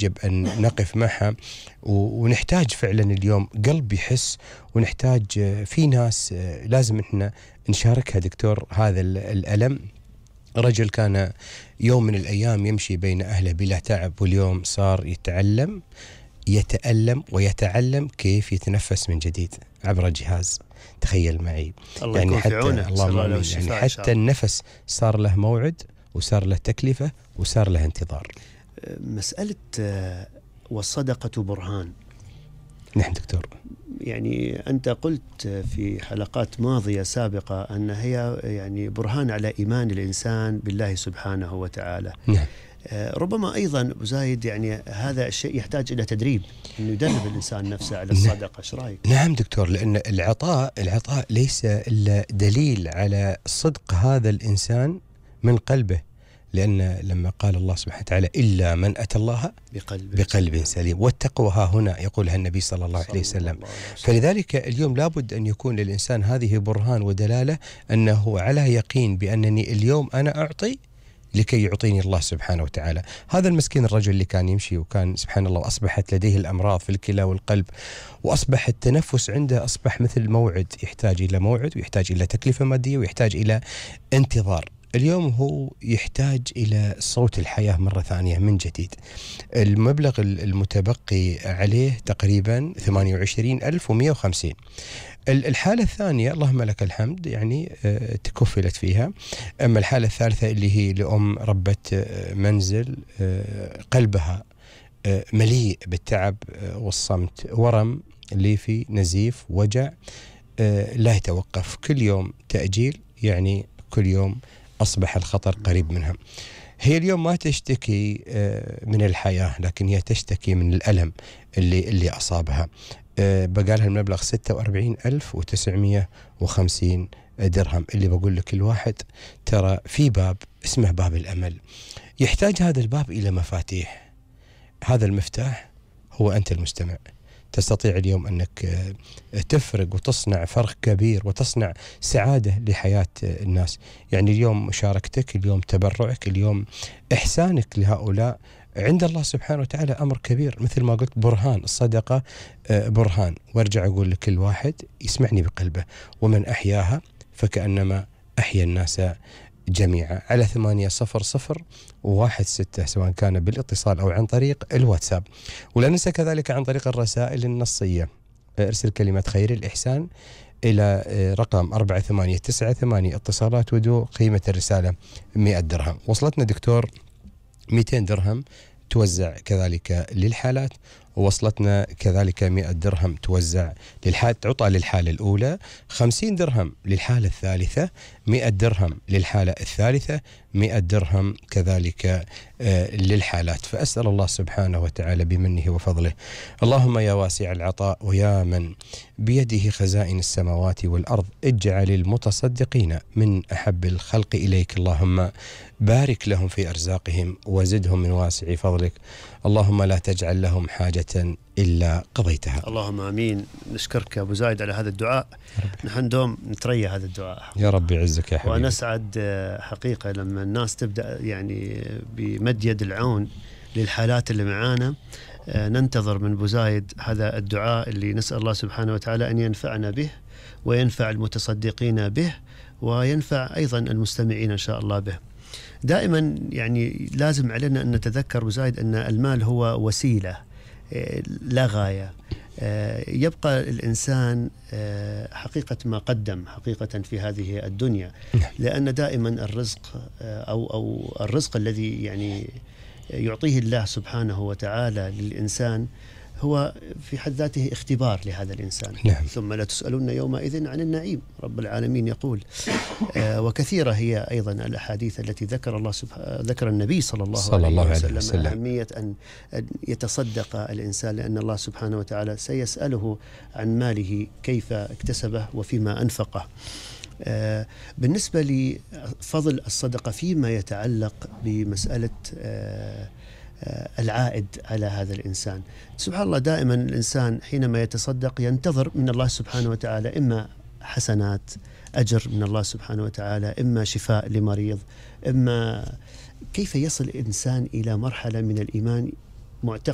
يجب أن نقف معها، ونحتاج فعلا اليوم قلب يحس، ونحتاج في ناس لازم إحنا نشاركها دكتور هذا الألم. رجل كان يوم من الأيام يمشي بين أهله بلا تعب، واليوم صار يتألم ويتعلم كيف يتنفس من جديد عبر جهاز. تخيل معي. الله يعني يكون في عونه. يعني حتى النفس صار له موعد، وصار له تكلفة، وصار له انتظار. مسألة والصدقة برهان. نعم دكتور. يعني أنت قلت في حلقات ماضية سابقة أن هي يعني برهان على إيمان الإنسان بالله سبحانه وتعالى. نعم. ربما أيضا أبو زايد يعني هذا الشيء يحتاج إلى تدريب، أنه يدرب الإنسان نفسه على الصدقة. إيش رأيك؟ نعم دكتور، لأن العطاء ليس إلا دليل على صدق هذا الإنسان من قلبه، لأن لما قال الله سبحانه وتعالى إلا من أتى الله بقلب سليم، والتقوى ها هنا يقولها النبي صلى الله عليه وسلم. فلذلك اليوم لابد أن يكون للإنسان هذه برهان ودلالة أنه على يقين بأنني اليوم أنا أعطي لكي يعطيني الله سبحانه وتعالى. هذا المسكين الرجل اللي كان يمشي وكان سبحان الله أصبحت لديه الأمراض في الكلى والقلب، وأصبح التنفس عنده أصبح مثل موعد، يحتاج إلى موعد، ويحتاج إلى تكلفة مادية، ويحتاج إلى انتظار. اليوم هو يحتاج إلى صوت الحياة مرة ثانية من جديد. المبلغ المتبقي عليه تقريبا 28,150. الحالة الثانية اللهم لك الحمد يعني تكفلت فيها. أما الحالة الثالثة اللي هي لأم ربة منزل، قلبها مليء بالتعب والصمت، ورم ليفي، نزيف، وجع لا يتوقف، كل يوم تأجيل، يعني كل يوم أصبح الخطر قريب منها. هي اليوم ما تشتكي من الحياة، لكن هي تشتكي من الألم اللي أصابها. بقالها المبلغ 46,950 درهم. اللي بقول لك الواحد ترى في باب اسمه باب الأمل، يحتاج هذا الباب إلى مفاتيح. هذا المفتاح هو أنت المستمع. تستطيع اليوم أنك تفرق وتصنع فرق كبير، وتصنع سعادة لحياة الناس. يعني اليوم مشاركتك، اليوم تبرعك، اليوم إحسانك لهؤلاء عند الله سبحانه وتعالى أمر كبير. مثل ما قلت برهان الصدقة، برهان. وارجع أقول لكل واحد يسمعني بقلبه، ومن أحياها فكأنما أحيا الناس جميعا. على 800-16 سواء كان بالاتصال أو عن طريق الواتساب. ولا ننسى كذلك عن طريق الرسائل النصية. ارسل كلمة خير الإحسان إلى رقم 4898. اتصالات ودو، قيمة الرسالة 100 درهم. وصلتنا دكتور 200 درهم توزع كذلك للحالات، ووصلتنا كذلك 100 درهم توزع تعطى للحالة الأولى، 50 درهم للحالة الثالثة، 100 درهم للحالة الثالثة، 100 درهم كذلك للحالات. فأسأل الله سبحانه وتعالى بمنه وفضله، اللهم يا واسع العطاء ويا من بيده خزائن السماوات والأرض، اجعل المتصدقين من أحب الخلق إليك، اللهم بارك لهم في أرزاقهم وزدهم من واسع فضلك، اللهم لا تجعل لهم حاجة إلا قضيتها. اللهم آمين. نشكرك أبو زايد على هذا الدعاء. نحن دوم نتريى هذا الدعاء يا رب يعزك يا حبيبي. ونسعد حقيقة لما الناس تبدأ يعني بمد يد العون للحالات اللي معانا. ننتظر من أبو زايد هذا الدعاء اللي نسأل الله سبحانه وتعالى أن ينفعنا به، وينفع المتصدقين به، وينفع أيضا المستمعين إن شاء الله به. دائما يعني لازم علينا أن نتذكر أبو زايد أن المال هو وسيلة لا غاية. يبقى الإنسان حقيقة ما قدم حقيقة في هذه الدنيا، لأن دائما الرزق أو الرزق الذي يعني يعطيه الله سبحانه وتعالى للإنسان هو في حد ذاته اختبار لهذا الإنسان. نعم. ثم لا تسألون يومئذ عن النعيم، رب العالمين يقول. وكثيرة هي أيضا الأحاديث التي ذكر النبي صلى الله عليه وسلم أهمية أن يتصدق الإنسان، لأن الله سبحانه وتعالى سيسأله عن ماله كيف اكتسبه وفيما أنفقه. بالنسبة لفضل الصدقة فيما يتعلق بمسألة العائد على هذا الإنسان، سبحان الله دائما الإنسان حينما يتصدق ينتظر من الله سبحانه وتعالى إما حسنات، أجر من الله سبحانه وتعالى، إما شفاء لمريض، إما كيف يصل الإنسان إلى مرحلة من الإيمان معتقد